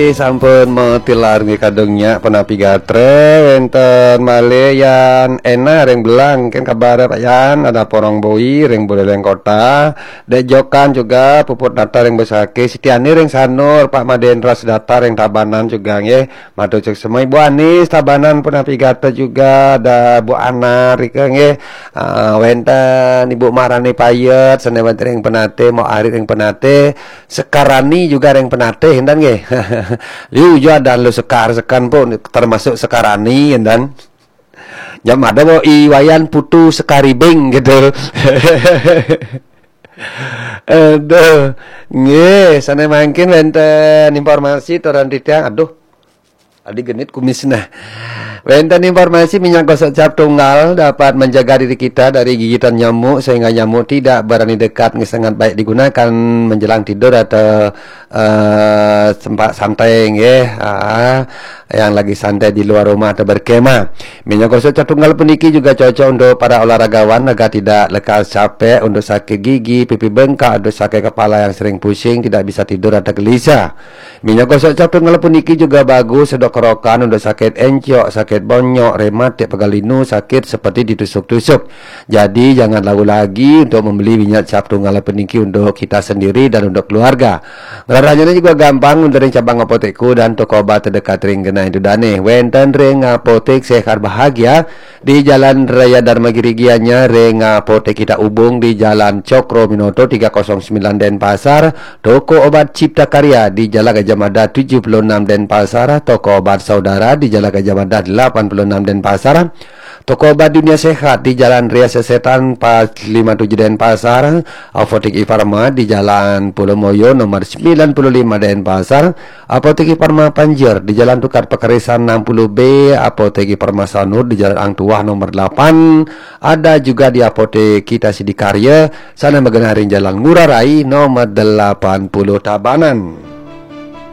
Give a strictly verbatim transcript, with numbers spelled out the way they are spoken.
Sampun matilar nggih kadung nyak, punapi gatra, wénten malih Yan Ena ring Belang, kén kabar Pak Yan, ada Porong Boi ring Buleleng Kota, Dek Jokan juga, Puput Nata ring Besakih, Siti Ani ring Sanur, Pak Madendra Sedata ring Tabanan juga nggih. Matur suksma Ibu Anis Tabanan, punapi gatra juga, ada Bu Ana rika nggih. Ah, wénten Ibu Marani Payet, sané wénten ring Penatih, Mok Ari ring Penatih, Sekarani juga ring Penatih, énten nggih. Liu juga ada lu Sekar, Sekan pun termasuk Sekarani, énten. Jam ada mau I Wayan Putu Sekaribing gitu. Aduh, nggih, sané mangkin wénten informasi turun titiang. Aduh, tadi genit kumis nah. Wénten informasi minyak gosok cap tunggal dapat menjaga diri kita dari gigitan nyamuk sehingga nyamuk tidak berani dekat, sangat baik digunakan menjelang tidur atau eh, sempat santai nggih. Ah, yang lagi santai di luar rumah atau berkemah. Minyak gosok cap tunggal puniki juga cocok untuk para olahragawan agar tidak lekas capek, untuk sakit gigi, pipi bengkak, untuk sakit kepala yang sering pusing, tidak bisa tidur atau gelisah. Minyak gosok cap tunggal puniki juga bagus untuk kerokan, untuk sakit encok, sakit bonyok, rematik, pegal linu, sakit seperti ditusuk-tusuk. Jadi jangan ragu lagi untuk membeli minyak cap tunggal puniki untuk kita sendiri dan untuk keluarga. Ngraranyane juga gampang, wénten ring cabang apotek dan toko obat terdekat ring genah ida dane. Wénten ring Apotek Sehat Bahagia di Jalan Raya Dharma Giri Gianyar, ring Apotek Kita Ubung di Jalan Cokro Minoto tiga kosong sembilan Denpasar, toko obat Cipta Karya di Jalan Gajah Mada tujuh puluh enam Denpasar, toko obat Saudara di Jalan Gajah Mada delapan puluh enam Denpasar, toko obat Dunia Sehat di Jalan Ria Sesetan empat lima tujuh Denpasar, Apotek Ifarma di Jalan Pulau Moyo nomor sembilan puluh lima Denpasar, Apotek Ifarma Panjer di Jalan Tukad Pakerisan enam puluh B, Apotek Ifarma Sanur di Jalan Ang Tuah nomor delapan, ada juga di Apotek Kita Sidikarya, sané magenah ring Jalan Ngurah Rai nomor delapan puluh Tabanan.